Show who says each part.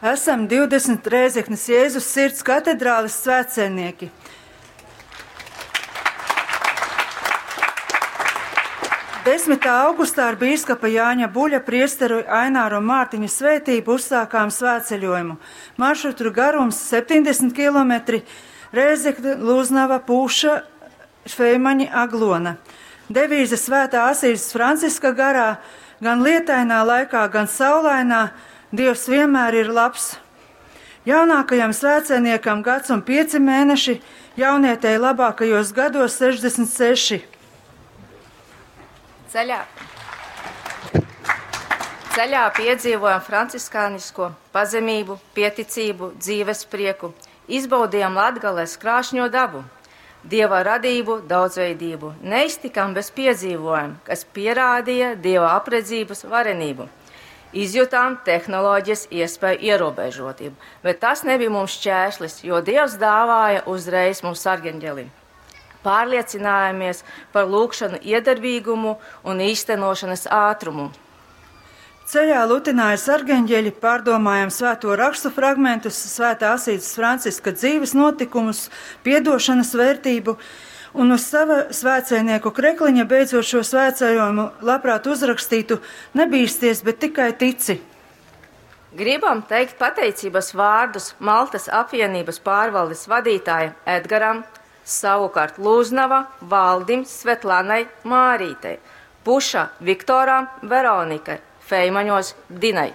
Speaker 1: Esam 20 Rēzeknes Jēzus Sirds katedrāles svētceļnieki. 10. augustā ar bīskapa Jāņa Buļa, priesteru Aināru un Mārtiņa svētību uzsākām svētceļojumu. Maršrutu garums 70 km, Rēzekne, Lūznava, Pūša, Feimaņi, Aglona. Devīze Svētā Asīzes Franciska garā, gan lietainā laikā, gan saulainā, Dievs vienmēr ir labs. Jaunākajam svētceļniekam gads un 5 mēneši, jaunietei labākajos gados 66.
Speaker 2: Ceļā. Ceļā piedzīvojam franciskānisko pazemību, pieticību, dzīves prieku, izbaudījām Latgales krāšņo dabu, Dieva radību, daudzveidību, neiztikām bez piedzīvojuma, kas pierādīja Dieva apredzības varenību. Izjutām tehnoloģijas iespēju ierobežotību, bet tas nebija mums šķērslis, jo Dievs dāvāja uzreiz mums sargeņģeli. Pārliecinājāmies par lūgšanu iedarbīgumu un īstenošanas ātrumu.
Speaker 1: Ceļā lutināja sargeņģeļi, pārdomājām svēto rakstu fragmentus, svētā Asīzes Franciska dzīves notikumus, piedošanas vērtību, un uz sava svētceļnieku krekliņa beidzot šo svētceļojumu labprāt uzrakstītu: nebīsties, bet tikai tici.
Speaker 2: Gribam teikt pateicības vārdus Maltas apvienības pārvaldes vadītājam Edgaram, savukārt Lūznava, Valdim, Svetlanai, Mārītei, Puša, Viktoram, Veronikai, Feimaņos, Dinai.